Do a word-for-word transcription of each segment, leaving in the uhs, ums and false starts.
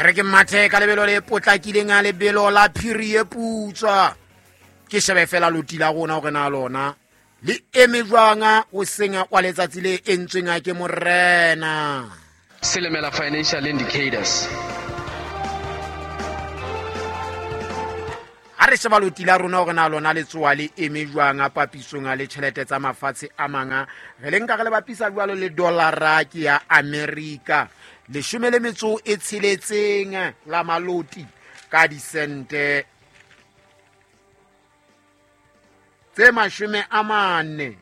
E re ke mathe ka lebelo le potlakileng a lebelo la phiri e putswa. Ke shebe fela loti la rona hore na lona le eme jwang o seng wa letsatsi le entsweng ke morena. Silimela Financial Indicators. Ha re sheba loti la rona hore na lona le tsoa le eme jwang papisong le tjhelete tsa mafatshe a manga, re le nka re le bapisa jwalo le dollara ke ya America. Leshome le metso e tsheletseng la maloti ka disente tse mashome a mane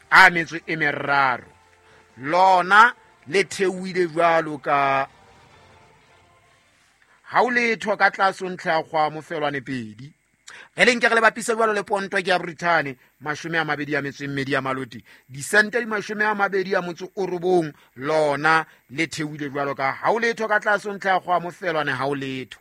a metso e meraro. Lona le theohile jwalo ka ha o letho ka tlase ho ntlha ya kgwa mofelwane pedi. Re le nke re le bapise jwalo le ponto ke ya Britain, mashome a mabedi a metso e mmedi ya maloti, disente di mashome a mabedi a motso o robong, lona le theohile jwalo ka ha o letho ka tlase ho ntlha ya kgwa mofelwane ha o letho.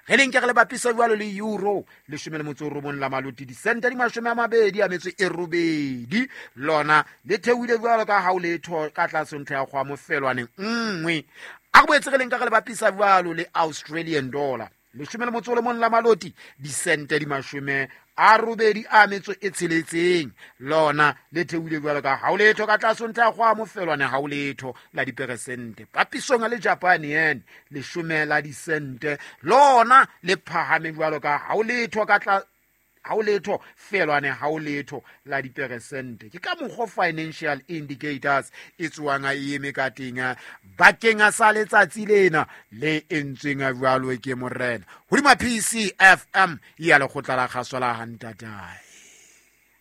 Re le nke re le bapise jwalo le euro, leshome le motso o robong la maloti, disente di mashome a mabedi a metso e robedi, lona le theohile jwalo ka ha o letho ka tlase ho ntlha ya kgwa mofelwane nngwe. A re boetse re le nka re le bapisa jwalo le Australian dollar, leshome le motso o le mong la maloti, disente di mashome a robedi a metso e tsheletseng, lona le theohile jwalo ka ha o letho ka tlase ho ntlha ya kgwa mofelwane ha o letho la diperesente. Papisong le Japan yen, leshome la disente, lona le phahame jwalo ka ha o letho ka tla ha o letho felwane ha o letho la diperesente. Ke ka mokgwa Financial Indicators e tswang a eme ka teng bakeng sa letsatsi lena le entsweng jwalo ke morena. Hodima P C F M ya lekgotla la kgaso la Hantatae.